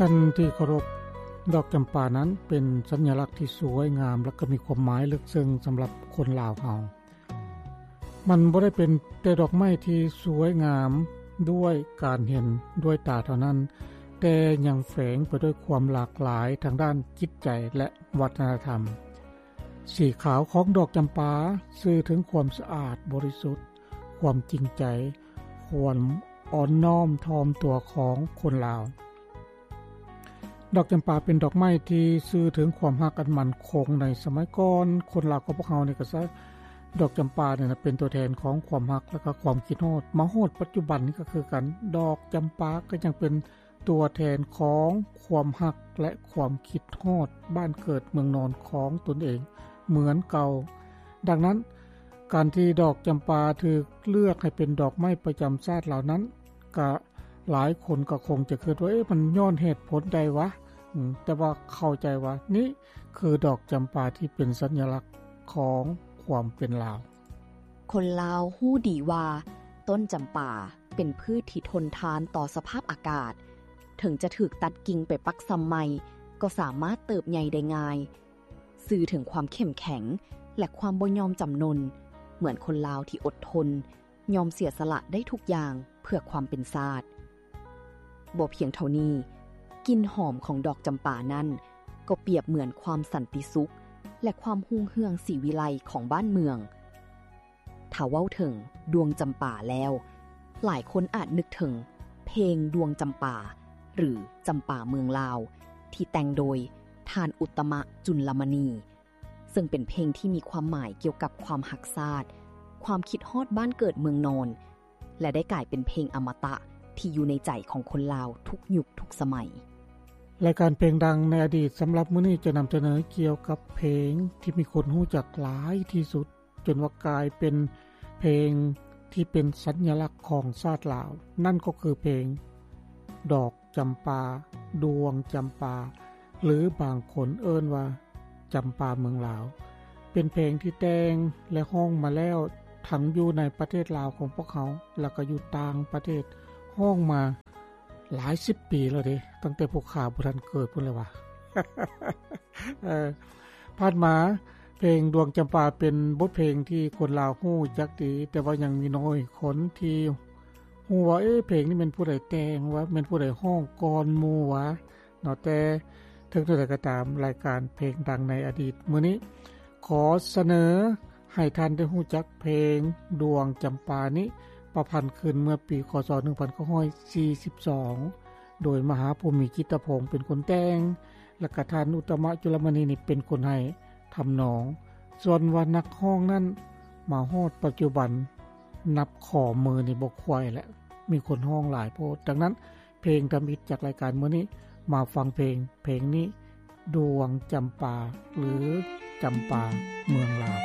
ທ່ານທີ່ເຄົາລົບ, ດອກຈຳປານັ້ນເປັນສັນຍາລັກທີ່ສວຍງາມ ແລະກໍມີຄວາມໝາຍເລິກເຊິ່ງສຳລັບຄົນລາວເຮົາ. ມັນບໍ່ໄດ້ເປັນແຕ່ດອກໄມ້ທີ່ສວຍງາມດ້ວຍການເຫັນດ້ວຍຕາເທົ່ານັ້ນ, ແຕ່ຍັງແຝງໄປດ້ວຍຄວາມຫຼາກຫຼາຍທາງດ້ານຈິດໃຈ ແລະ ວັດທະນະທຳ. ສີຂາວຂອງດອກຈຳປາສື່ເຖິງຄວາມສະອາດບໍລິສຸດ, ຄວາມຈິງໃຈ, ຄວາມອ່ອນນ້ອມຖ່ອມຕົວຂອງຄົນລາວ. ດອກຈຳປາເປັນດອກໄມ້ທີ່ສື່ເຖິງຄວາມຮັກອັນໝັ້ນຄົງໃນສະໄໝກ່ອນ. ຄົນລາວຂອງພວກເຮົານີ້ກໍໃຊ້ດອກຈຳປານີ້ນະເປັນຕົວແທນຂອງຄວາມຮັກ ແລະກໍຄວາມຄິດຮອດ. ມາຮອດປັດຈຸບັນນີ້ກໍຄືກັນ, ດອກຈຳປາກໍຍັງເປັນ ຕົວແທນຂອງຄວາມຮັກ ແລະ ຄວາມຄິດຮອດບ້ານເກີດເມືອງນອນຂອງຕົນເອງເໝືອນເກົ່າ. ດັ່ງນັ້ນ, ການທີ່ດອກຈຳປາຖືກເລືອກໃຫ້ເປັນດອກໄມ້ປະຈຳຊາດລາວນັ້ນ, ກະຫຼາຍຄົນກໍຄົງຈະຄິດວ່າ, ເອະ, ມັນຍ້ອນເຫດຜົນໃດວະ? ອາ, ແຕ່ວ່າເຂົ້າໃຈວ່ານີ້ຄືດອກຈຳປາທີ່ເປັນສັນຍາລັກຂອງຄວາມເປັນລາວ. ຄົນລາວຮູ້ດີວ່າຕົ້ນຈຳປາເປັນພືດທີ່ທົນທານຕໍ່ສະພາບອາກາດ, ເຖິງຈະຖືກຕັດກິ່ງໄປປັກຊຳໃໝ່ກໍສາມາດເຕີບໃຫຍ່ໄດ້ງ່າຍ, ສື່ເຖິງຄວາມເຂັ້ມແຂງ ແລະ ຄວາມບໍ່ຍອມຈຳນົນ, ເໝືອນຄົນລາວທີ່ອົດທົນ, ຍອມເສຍສະຫຼະໄດ້ທຸກຢ່າງເພື່ອຄວາມເປັນຊາດ. ບໍ່ພຽງເທົ່ານີ້, ກິ່ນຫອມຂອງດອກຈຳປານັ້ນກໍປຽບເໝືອນຄວາມສັນຕິສຸກ ແລະ ຄວາມຮຸ່ງເຮືອງສີວິໄລຂອງບ້ານເມືອງ. ຖ້າເວົ້າເຖິງດວງຈຳປາແລ້ວ, ຫຼາຍຄົນອາດນຶກເຖິງເພງດວງຈຳປາ ຫຼື ຈຳປາເມືອງລາວ ທີ່ແຕ່ງໂດຍທ່ານ ອຸດຕະມະ ຈຸນລະມະນີ ເຊິ່ງເປັນເພງທີ່ມີຄວາມໝາຍກ່ຽວກັບຄວາມຮັກຊາດ, ຄວາມຄິດຮອດບ້ານເກີດເມືອງນອນ ແລະ ໄດ້ກາຍເປັນເພງອະມະຕະທີ່ຢູ່ໃນໃຈຂອງຄົນລາວທຸກຍຸກທຸກສະໄໝ. ລາຍການເພງດັງໃນອະດີດສຳລັບມື້ນີ້ຈະນຳສະເໜີກ່ຽວກັບເພງທີ່ມີຄົນຮູ້ຈັກຫຼາຍທີ່ສຸດ, ຈົນວ່າກາຍເປັນເພງທີ່ເປັນສັນຍາລັກຂອງຊາດລາວ, ນັ້ນກໍຄືເພງດອກຈຳປາ, ດວງຈຳປາ, ຫຼື ບາງຄົນເອີ້ນວ່າ ຈຳປາເມືອງລາວ, ເປັນເພງທີ່ແຕ່ງ ແລະ ຮ້ອງມາແລ້ວ ທັງຢູ່ໃນປະເທດລາວຂອງພວກເຮົາ ແລ້ວກໍຢູ່ຕ່າງປະເທດ, ຮ້ອງມາຫຼາຍສິບປີແລ້ວເດ້, ຕັ້ງແຕ່ພວກຂ້າບໍ່ທັນເກີດພຸ້ນແລ້ວຫວາ. ເອີ, ຜ່ານມາ, ເພງດວງຈຳປາເປັນບົດເພງທີ່ຄົນລາວຮູ້ຈັກດີ, ແຕ່ວ່າຍັງມີໜ້ອຍຄົນທີ່ຮູ້ວ່າ, ເອ, ເພງນີ້ແມ່ນຜູ້ໃດແຕ່ງວະ, ແມ່ນຜູ້ໃດຮ້ອງກ່ອນໝູ່ວະ? ເນາະ, ແຕ່ເຖິງແນວໃດກໍຕາມ, ລາຍການເພງດັງໃນອະດີດມື້ນີ້ ຂໍສະເໜີໃຫ້ທ່ານໄດ້ຮູ້ຈັກເພງດວງຈຳປານີ້ ປະພັນຂຶ້ນເມື່ອປີ ຄ.ສ. ໜຶ່ງພັນເກົ້າຮ້ອຍສີ່ສິບສອງ ໂດຍມະຫາພູມີ ຈິດຕະພົງ ເປັນຄົນແຕ່ງ ແລະ ກະທ່ານ ອຸດຕະມະ ຈຸລະມະນີ ນີ້ເປັນຄົນໃຫ້ທຳນອງ. ສ່ວນວ່ານັກຮ້ອງນັ້ນ ມາຮອດປັດຈຸບັນ ນັບຂໍ້ມືນີ້ບໍ່ຄ່ອຍແຫຼະ, ມີຄົນຮ້ອງຫຼາຍໂພດ. ດັ່ງນັ້ນ, ເພງທຳອິດຈາກລາຍການມື້ນີ້ ມາຟັງເພງ ເພງນີ້ ດວງຈຳປາ ຫຼື ຈຳປາເມືອງລາວ.